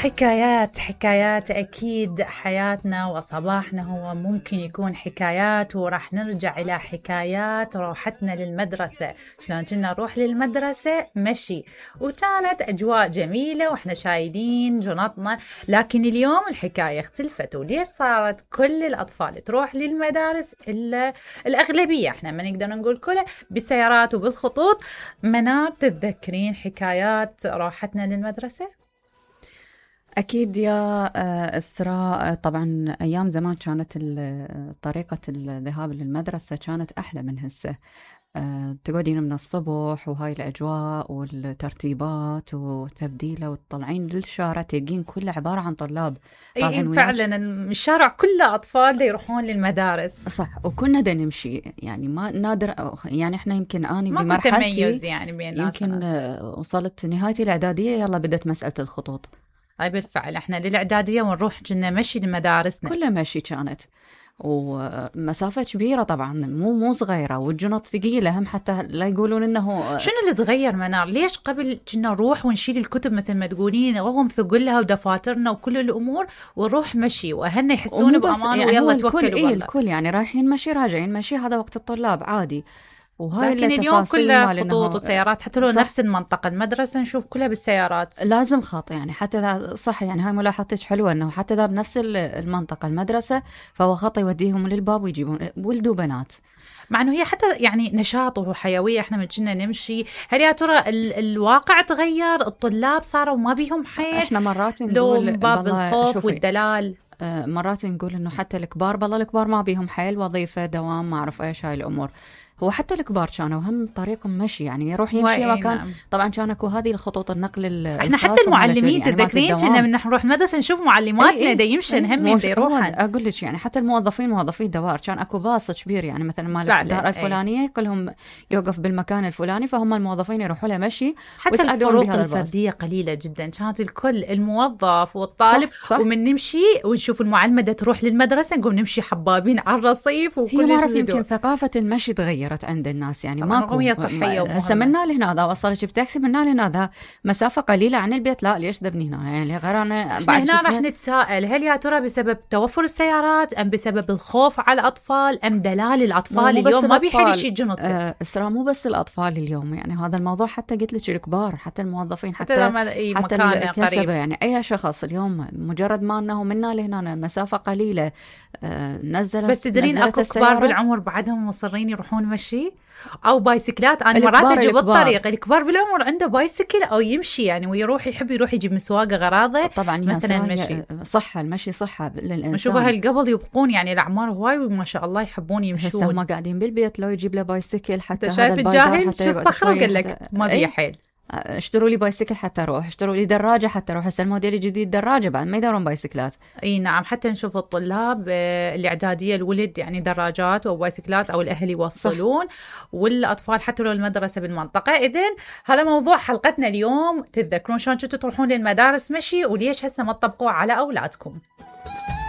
حكايات أكيد. حياتنا وصباحنا هو ممكن يكون حكايات، وراح نرجع إلى حكايات روحتنا للمدرسة. شلون كنا نروح للمدرسة مشي، وكانت أجواء جميلة وإحنا شايلين جنطنا. لكن اليوم الحكاية اختلفت، وليش صارت كل الأطفال تروح للمدارس إلا الأغلبية، إحنا ما نقدر نقول كله، بالسيارات وبالخطوط. منار، تتذكرين حكايات روحتنا للمدرسة؟ أكيد يا إسراء. طبعا أيام زمان كانت طريقة الذهاب للمدرسة كانت أحلى من هسه. تقعدين من الصبح وهاي الأجواء والترتيبات وتبديله وتطلعين للشارع تلقين كله عبارة عن طلاب. إيه فعلا الشارع كله أطفال يروحون للمدارس. صح، وكنا دا نمشي، يعني ما نادر، يعني إحنا يمكن أنا ما بمرحلتي تميز يعني بين ناس يمكن وصلت نهايتي الإعدادية يلا بدت مسألة الخطوط. أي بالفعل احنا للإعدادية ونروح كنا مشي لمدارسنا، كلها مشي كانت، ومسافة كبيرة طبعا، مو صغيرة، والجنط ثقيلة هم، حتى لا يقولون انه شنو اللي تغير منار؟ ليش قبل كنا نروح ونشيل الكتب مثل ما تقولين رغم ثقلها ودفاترنا وكل الأمور، ونروح مشي واهلنا يحسون بأمان يعني ويلا توكلوا بالله. الكل يعني رايحين مشي راجعين مشي، هذا وقت الطلاب عادي. لكن اليوم كلها خطوط وسيارات، حتى لو نفس المنطقة المدرسة نشوف كلها بالسيارات، لازم خط يعني. حتى ذا صح، يعني هاي ملاحظتك حلوة، انه حتى ذا بنفس المنطقة المدرسة فهو خط يوديهم للباب ويجيبون ولد وبنات، مع انه هي حتى يعني نشاط وحيوية. احنا من كنا نمشي. هل يا ترى الواقع تغير؟ الطلاب صاروا ما بيهم حيل؟ احنا مرات نقول باب الخوف والدلال. مرات نقول انه حتى الكبار، بالله الكبار ما بيهم حيل، وظيفة دوام ما اعرف ايش هاي الامور. هو حتى الكبار كانوا هم طريقهم مشي، يعني يروح يمشي مكان. نعم. طبعا كان اكو هذه الخطوط النقل. احنا حتى المعلمين يعني تذكرين كنا من نروح مدرسه نشوف معلماتنا دا يمشن هم دا يروحن. اقول لك يعني حتى الموظفين موظفي الدوار كان اكو باص كبير، يعني مثلا مال الدار الفلانيه كلهم يوقف بالمكان الفلاني، فهم الموظفين يروحوا له مشي. حتى الفروق الفرديه قليله جدا، كانت الكل الموظف والطالب صح. ومن نمشي ونشوف المعلمه دا تروح للمدرسه نقوم نمشي حبابين على الرصيف وكل شيء. هي يمكن ثقافه المشي تغيرت عند الناس، يعني ماكو هي صحيه هسه منا لهنا وصلت بتاكسي منا لهنا مسافه قليله عن البيت، لا ليش ذبني هنا؟ يعني غير انا هنا راح نتساءل، هل يا ترى بسبب توفر السيارات ام بسبب الخوف على الاطفال ام دلال الاطفال اليوم ما بيحد يشيل جنط؟ اسراء مو بس الاطفال اليوم، يعني هذا الموضوع حتى قلت لك الكبار، حتى الموظفين، حتى الكسبه، يعني اي شخص اليوم مجرد ما انه منا لهنا مسافه قليله نزلت. بس تدرين اكو كبار بالعمر بعدهم مصرين يروحون مشي او بايسكلات. انا مرات اجي بالطريق الكبار بالعمر عنده بايسكل او يمشي يعني، ويروح يحب يروح يجيب مسواقه غراضه. طبعا مثلا المشي صحه، المشي صحه للانسان. نشوفها قبل يبقون يعني الاعمار هواي وما شاء الله يحبون يمشون. هم قاعدين بالبيت لو يجيب له بايسكل حتى هذا شايف الجاهل شو الصخره قال لك ما بيه حيل. اشتروا لي بايسكل حتى اروح، اشتروا لي دراجه حتى اروح. هسه الموديل الجديد دراجه بعد ما يدورون بايسكلات. اي نعم، حتى نشوف الطلاب الاعداديه الولد يعني دراجات او بايسكلات او الاهل يوصلون صح. والاطفال حتى لو المدرسه بالمنطقه. اذن هذا موضوع حلقتنا اليوم. تتذكرون شلون كنتوا تروحون للمدارس مشي وليش هسه ما تطبقوه على اولادكم؟